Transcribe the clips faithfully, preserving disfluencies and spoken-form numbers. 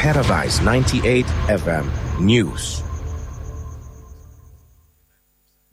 Paradise ninety-eight F M News.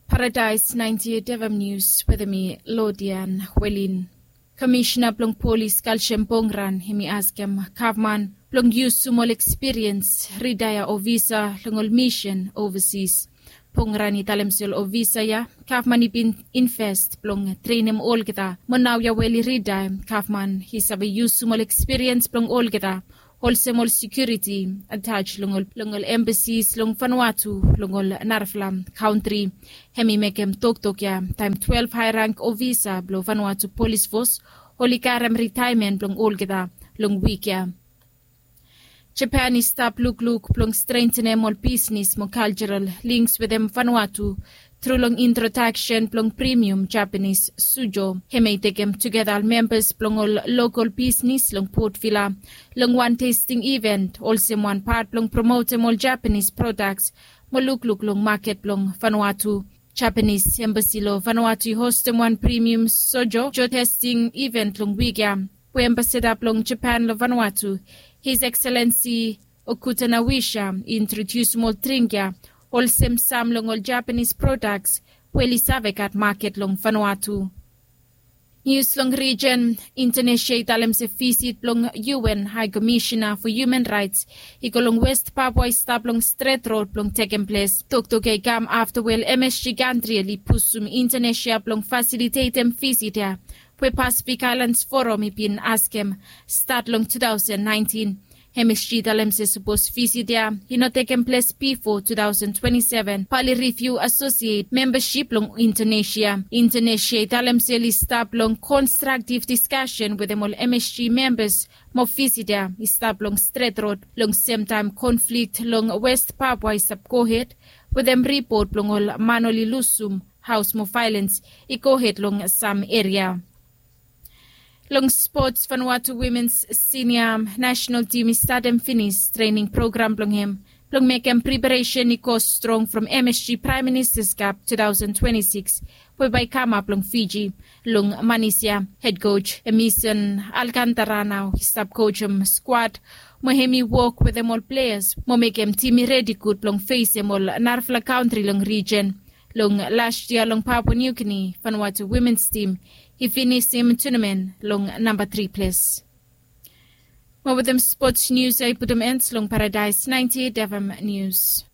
Paradise ninety-eight F M News wetem mi, Lodian Welin. Komisina blong polis Kalshem Pongran hemi askem gavman blong yusum ol ekspiriens ritaea ofisa long ol misin ovasis. Pongran i talem se ol ofisa ya gavman i bin invest blong trenem olgeta, mo naoia we oli ritaea gavman i save yusum ol ekspiriens blong olgeta, olsem ol sekiuriti atas long ol embasis long Vanuatu long ol narafala kantri. Hemi mekem toktok ya taem twelve hae rank ofisa blong Vanuatu polis fos oli karem ritaemen blong olgeta long wik ya. Japan i stap lukluk blong strentenem ol bisnes mo kaljaral lings wetem Vanuatu tru long introdaksen blong premium Japanis sujo. Hemia i tekem tugeta ol membas blong ol lokol bisnes long Port Vila long wan testing iven olsem wan pat blong promotem ol Japanis prodaks mo lukluk long maket blong Vanuatu. Japanis embasi long Vanuatu i hostem wan premium sujo testing iven long wik ya, we ambasada blong Japan long Vanuatu, His Excellency Okuta Nawisha, i introdiusim ol dring ya olsem sam long ol Japanis prodaks we oli save gat maket long Vanuatu. Nius long rijen. Indonesia i talem se visit blong U N Hae Komisina fo Human Raets i go long West Papua i stap long stret rod blong tekem ples. Toktok ya i kam afta we ol M S G kantri oli pusum Indonesia blong fasilitetem visit ya we Pasifik Aelans Foram i bin askem stat long two thousand nineteen. M S G i talem se sapos visit ya i no tekem ples bifo two thousand twenty-seven, bae oli riviu asosiet membasip blong Indonesia. Indonesia i talem se oli stap long konstraktiv diskasen wetem ol M S G membas mo visit ya i stap long stret rod long semtaem konflik long West Papua i stap gohed, wetem ripot blong ol man oli lusum haos mo vaelens i gohed long sam eria. Long spots, Vanuatu wimens sinia nasenal tim i statem finis trening program blong hem blong mekem preparesen i go strong from M S G Praem Ministas Kap two thousand twenty-six we bae i kamap long Fiji. Long manis ya, hed koj Emison Alkantara nao i stap kojem skwad mo hem i wok wetem ol pleas mo mekem tim i redi gud blong fesem ol narafala kantri long rijen. Long las yia long Papua New Guinea, Vanuatu wimens tim i finisim tunamen long namba tri ples. Mo wetem spots nius ya i putum en long Paradise ninety-eight F M Nius.